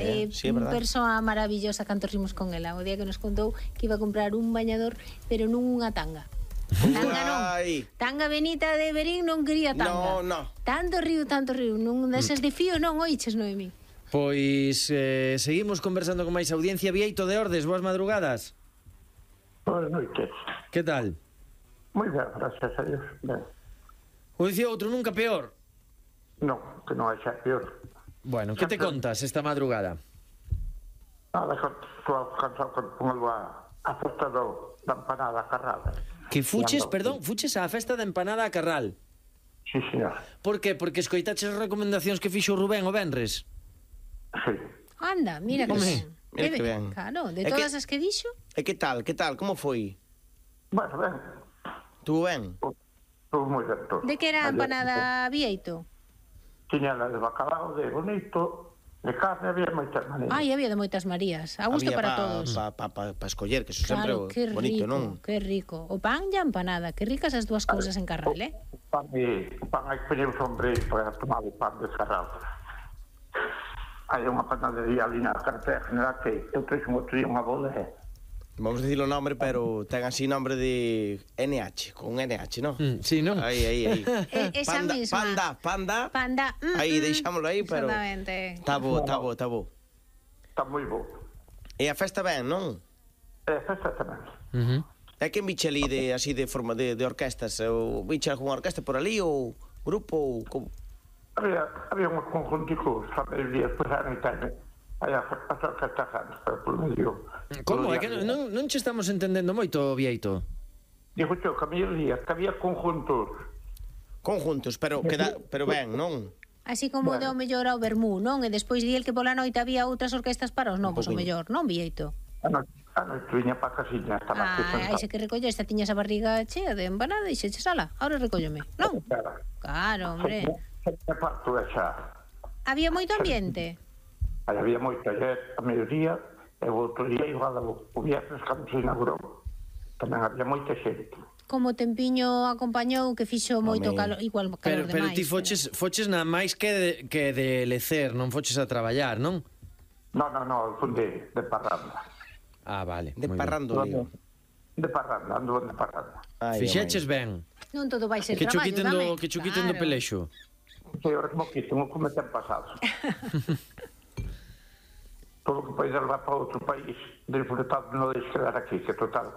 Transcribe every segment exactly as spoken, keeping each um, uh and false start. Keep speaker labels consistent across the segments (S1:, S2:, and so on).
S1: Eh,
S2: sí, é
S1: unha
S2: verdade.
S1: persoa maravillosa, canto rimos con ela o día que nos contou que iba a comprar un bañador, pero non unha tanga. Tanga non.
S2: Ai.
S1: Tanga Benita de Berín non quería tanga.
S2: No, no.
S1: Tanto río, tanto río. Non deses de fío non oiches, Noemí.
S3: Pois eh, seguimos conversando con máis audiencia. Vieito de Ordes, boas madrugadas.
S4: Boas noites.
S3: Que tal?
S4: Moi ben, gracias a Dios. Ben.
S3: O dicía outro, nunca peor.
S4: Non, que non é xa peor.
S3: Bueno, que te contas esta madrugada?
S4: Nada, que estou cansado con ponelo a, a festa do, da empanada carrada.
S3: Que fuches, perdón, fuches á festa da empanada a Carral.
S4: Sí, señor.
S3: Por que? Porque escoitaches as recomendacións que fixo Rubén o venres.
S4: Sí.
S1: Anda, mira que
S2: Home,
S1: ben.
S2: mira que ben.
S1: Claro, de
S2: É
S1: todas
S2: que-
S1: as que dixo.
S2: E que tal, que tal, como foi?
S4: Bueno, ben.
S2: Tuvo ben?
S4: Estou moi ben todo.
S1: De que era a
S4: Ayer,
S1: empanada Vieito?
S4: Tiña la de bacalao, de bonito, de carne, había moitas maneiras.
S1: Ai, había de moitas Marías. A gusto
S2: Había
S1: para
S2: pa,
S1: todos.
S2: Pa, pa, pa, pa escoller, que eso
S1: Claro,
S2: sempre
S1: que
S2: bonito,
S1: rico,
S2: non?
S1: que rico. O pan e a empanada, que ricas as dúas cousas en Carral, eh?
S4: O pan, e, o pan hai que poñer un sombreiro para tomar o pan descarrado. Hai unha panadería ali na carretera general que eu treixo un outro día unha bola e
S2: Vamos a dicir o nombre, pero ten así nombre de N H, con N H, non?
S3: Mm, sí, non?
S2: Aí, aí, aí.
S1: Eh, esa
S2: panda,
S1: misma.
S2: panda, panda.
S1: Panda. mm,
S2: Aí,
S1: mm.
S2: deixámoslo aí, pero...
S1: Exactamente.
S2: Tá bo, tá bo, tá bo.
S4: está moi bo.
S2: E a festa ben, non?
S4: E festa tamén.
S3: Uh -huh.
S2: É que biche ali de, así de forma de, de orquestas? Ou biche algunha orquesta por ali, ou grupo, ou... Como?
S4: Había, había uns conjunticos a mediodía, despois a noite hai as as orquestas grandes, pero por medio...
S3: Como? É que non, non, non che estamos entendendo moito, Vieito.
S4: Digo yo, que a mediodía, que había conjuntos.
S2: Conjuntos, pero queda, pero ben, non?
S1: Así como
S4: Bueno.
S1: deu mellor ao Bermú, non? E despois di el que pola noite había outras orquestas para os novos, o
S2: poquinho.
S1: mellor, non, Vieito?
S4: A noite, a noite viña para a casiña, estaba aquí
S1: Ah, aí se que recolle, esta tiñas a barriga chea de empanada e xe che sala. Ahora recóllome, non?
S4: Claro.
S1: Claro, hombre.
S4: Se parto esa.
S1: Había moito ambiente.
S4: Aí había moita ayer a mediodía, e o outro día igual o viernes cando se inaugurou. Tamén había moita xente.
S1: Como o tempiño acompañou que fixo moito
S2: Home.
S1: calor, igual
S3: Pero,
S1: calor
S3: pero
S1: demais.
S3: ti foches, foches nada máis que de, que de lecer, non foches a traballar, non?
S4: No, no, no, fun de, de parranda.
S3: Ah, vale.
S2: De
S3: moi
S2: parrando, lío.
S4: De parranda, ando de parranda.
S3: ben. Fixeches ben.
S1: Non todo vai ser
S3: Que cho
S1: traballo,
S3: quiten
S1: dame.
S3: do, que cho quiten do
S1: Claro.
S3: pelexo.
S4: Que ahora como que tengo como ten pasado. Todo que podes levar para outro país, disfrutado non deixes quedar aquí, que total.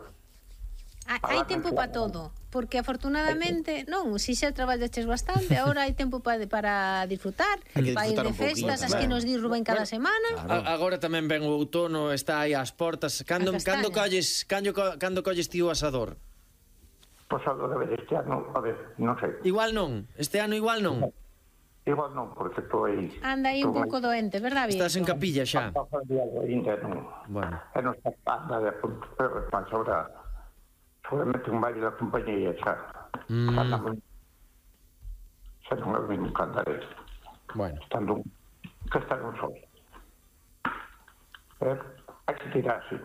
S1: Hai, hai tempo para todo, porque afortunadamente, non, si xa traballaches bastante, agora hai tempo pa, para disfrutar,
S2: Hai que
S1: para ir
S2: disfrutar
S1: de
S2: un pouquinho
S1: festas, as
S2: tamén.
S1: que nos di Rubén cada semana.
S3: A, agora tamén ven o outono, está aí ás portas. Cando,
S1: A castaña.
S3: cando colles, cando, co- cando colles ti o asador?
S4: Pois a de ver este ano, a ver, non sei.
S3: Igual non, este ano igual non.
S4: Igual non, porque estou aí.
S1: Anda aí un pouco doente, verdad, Vieito?
S3: Estás en capilla xa.
S4: Ainda non.
S3: Bueno.
S4: E non está nada de punto, pero mas ahora seguramente un baile da compañía xa.
S3: Mm.
S4: Anda moi... Xa non é ben cantaré.
S3: Bueno.
S4: Estando un... que está un sol. Pero hai que tirar, sí.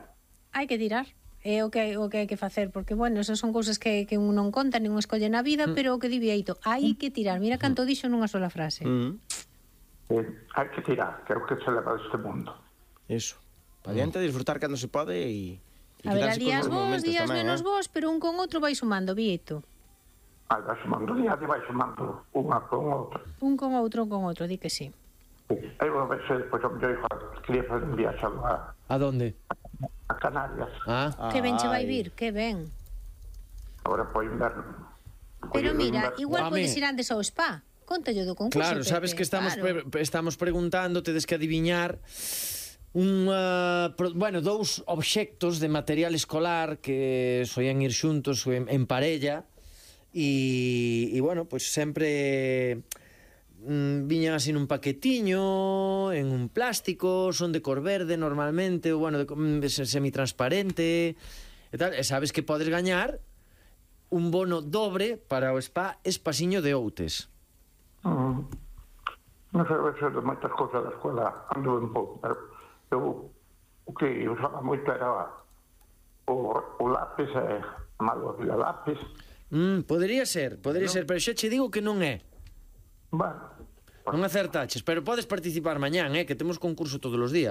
S1: Hai que tirar. É o que, o que hai que facer, porque, bueno, esas son cousas que, que un non conta, nin un escolle na vida, pero o que di Vieito, hai que tirar. Mira canto dixo nunha sola frase.
S2: Mm,
S4: Eh, hai que tirar, que é o que se leva deste mundo.
S2: eso. Pa diante, disfrutar cando se pode e... e
S1: A ver, a
S2: quedarse cos
S1: días
S2: bons
S1: vos,
S2: momentos
S1: días
S2: tamén,
S1: menos
S2: eh?
S1: vos, pero un con outro vai sumando, Vieito.
S4: Aí vai sumando día, vai sumando unha con outra.
S1: Un con outro, un con outro, di que sí.
S4: Aí vou ver se depois o mellor hijo quería fazer un viaxe a,
S3: A donde?
S4: a Canarias.
S3: Ah,
S1: Que ben che vai
S2: Ai.
S1: vir, que ben.
S4: Agora po inverno.
S1: Pero
S4: Colle o
S1: mira,
S4: inverno.
S1: igual
S3: Home.
S1: podes ir antes ao spa. Contallo do concurso,
S3: claro,
S1: Pepe,
S3: sabes que estamos
S1: claro.
S3: pre estamos preguntando, tedes que adiviñar un uh, pro, bueno, dous obxectos de material escolar que soían ir xuntos en, en parella e, e bueno, pois pues sempre mm, viñan así nun paquetiño, en un plástico, son de cor verde normalmente, ou bueno, de, de semitransparente e tal, e sabes que podes gañar un bono dobre para o spa Espasiño de Outes.
S4: Mm. Non sei ver de moitas cousas da escola ando un pouco, pero eu o que usaba moito era o, o lápis e a malo de lápis.
S3: Mm, podería ser, podería no. ser, pero xa che digo que non é.
S4: Bueno,
S3: Non acertaches, pero podes participar mañán, eh, que temos concurso todos os días.